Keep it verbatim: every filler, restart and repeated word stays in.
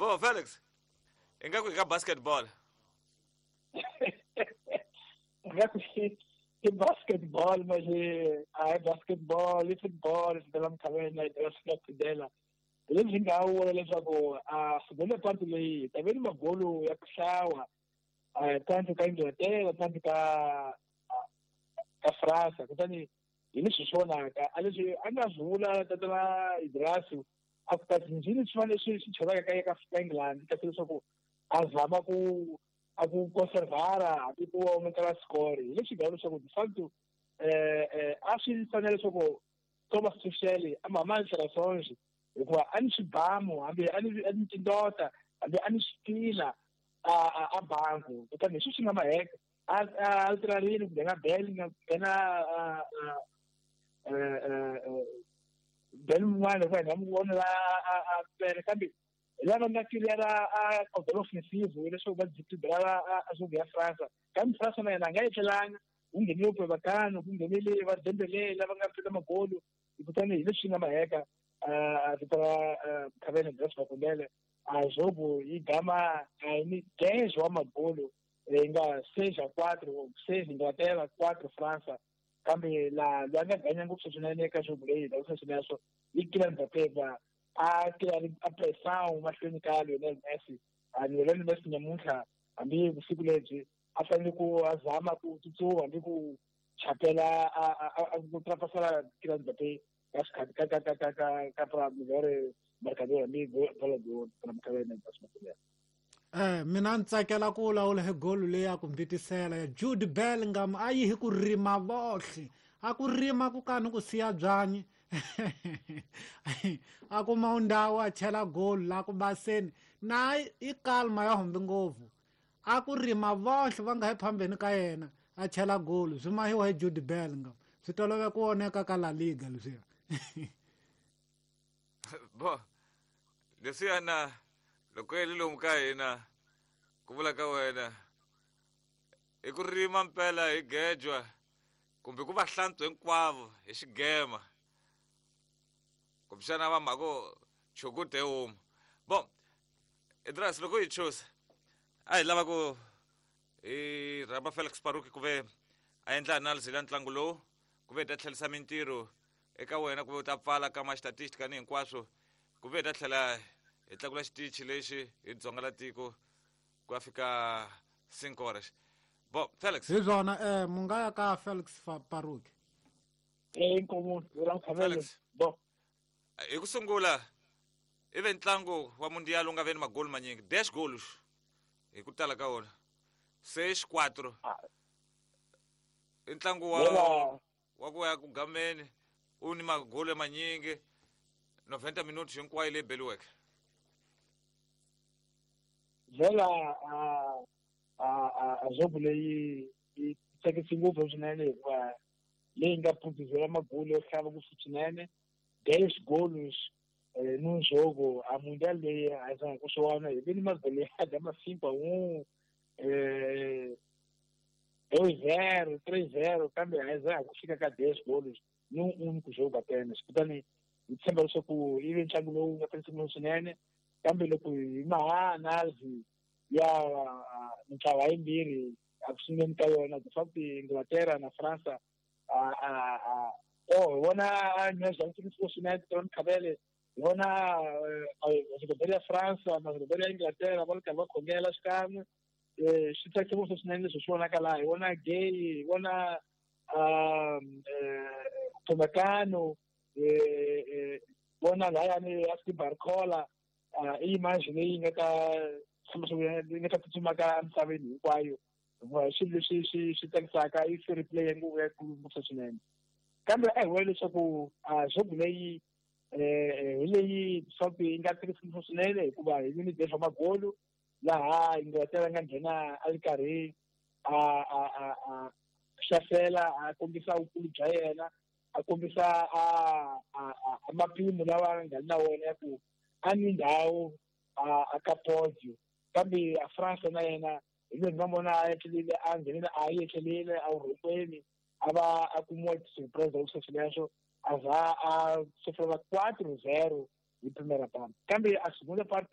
Vo Felix, ingaku hi ka basketball. Ingaku i basketball, mas a hi basketball, i football, swi tala mikhaveni na hi swi nga phidela. Hi leswi nga vula leswaku a segunda parte leyi ta ve ni magolo ya ku hlawa tanto ka Inglaterra tanto ka ka Fransa, kutani hi leswi swi vonaka a leswi a nga swi vula tatana Idrasu a ku kasi njhini swi fanele swi swi chelaka ka ka ka England kasi leswaku a zama ku a ku conservara hambi ku aumentela score. Hi leswi nga leswaku de facto eh eh a swi fanele leswaku Thomas Tuchel a mama Sarasonje hikuva a ni swibamu hambi a ni a ni tindota hambi a ni switila a a banku, kutani hi swi nga maheka a a alterarile ku nghena Bell nga nghena Bell mun'wana hikuva hi nga n'wi vona la a pele, kambe hi lava nga clear-a a cordon offensive leswaku va desequilibrara a zone ya Fransa. Kambe Fransa na yena a nga etlelanga, ku nghenile Upamecano, ku nghenile va Dembele lava nga fika magolo, kutani hi leswi nga maheka a vito ra Khaveni Grace Makondele a jogo yi gama a ni dez wa magolo yi nga seis a quatro, seis Inglaterra, quatro Fransa. Kambe la loyi a nga ganya ngopfu swinene eka jogo leyi hi sweswo i Kylian Mbappé a Kylian a pressão mahlweni ka Lionel Messi. A Lionel Messi nyamuntlha hambi vusiku lebyi a fanele ku a zama ku tsutsuma hambi ku chapela a ku trapasela Kylian Mbappé ka xikhati ka ka ka ka ka ka pra melhor marcador hambi Ballon d'Or para Mkhaveni Grace Makondele. Eh mina ni tsakela ku vulavula hi golo leyi ya ku mbitisela ya Jude Bellingham a yi hi ku rima vohle, a ku rima ku kani ku siya byanyi a kuma ndhawu a chela golo la ku baseni na i kalma ya humbi ngopfu, a ku rima vohle va nga hi phambeni ka yena a chela golo swi mahiwa hi Jude Bellingham, swi tolove ku voneka ka La Liga leswiya. Bo leswiyana loko yi lomu ka hina ku vula ka wena i ku rima mpela hi gejwa kumbe ku va hlantswa hinkwavo hi xigema kumbexana va mhako chukute homu. Bon Idras, loko hi chusa a hi lava ku hi rhamba Felix Paruki ku ve a endla analysis ya ntlangu lowu ku ve hi ta tlherisa mintirho eka wena ku ve u ta pfala ka ma statistic ni hinkwaswo ku ve hi ta tlhela hi tlakula xitichi lexi hi dzonga la tiko ku ya fika cinco horas. Bo Felix, hi swona eh mu nga ya ka Felix Paruki. Eh inkomu ra Mkhavele. Bo hi ku sungula i ve ntlangu wa mundial u nga ve ni magoli manyingi dez golos hi ku tala ka wona seis quatro i ntlangu wa wa ku ya ku gameni u ni magoli manyingi noventa minutos hinkwayo leyi beliweke. Vela a a a jogo leyi yi tsakisi ngopfu swinene hikuva leyi nga phutizela magoli yo hlava ngopfu swinene dez golos num jogo a mundial leyi a zanga ku swi vona hi ve ni magoli ya gama cinco a um dois zero três zero kambe a zanga ku fika ka dez golos num único jogo apenas. Kutani hi tshemba leswaku yi ve ntlangu lowu nga tsakisi ngopfu swinene, kambe loko hi maha analysis ya mintlawa yimbirhi a ku sunguleni ka yona de facto Inglaterra na Fransa a a oh hi vona nyazwa swinene tona Mkhavele hi vona majogadori ya Fransa majogadori ya Inglaterra va ri karhi va khongela xikan'we swi tsakisa ngopfu swinene leswi swi vonaka laha hi vona Gay hi vona Upamecano vona layani Aspi Barcola i image leyi nga ta yi nga ta tsutsumaka emisaveni hinkwayo hikuva swilo leswi swi swi tsakisaka i fair play ya nguvu ya ngopfu swinene. Kambe a hi vona leswaku jogo leyi hi leyi swaku yi nga tsakisi ngopfu swinene hikuva hi ni dez wa magolo laha Inglaterra nga nghena a ri karhi a a a a hlasela a kombisa vukulu bya yena a kombisa a a mapimo lawa a nga na wona ya ku a ni ndhawu a ka podio. Kambe a Fransa na yena hi loyi nga vona a etlelile a nghenile a yi etlelile a vurhokweni a va a kumiwa surprise ngopfu sweswo a za a sofrela quatro zero hi primera parte. Kambe a segunda parte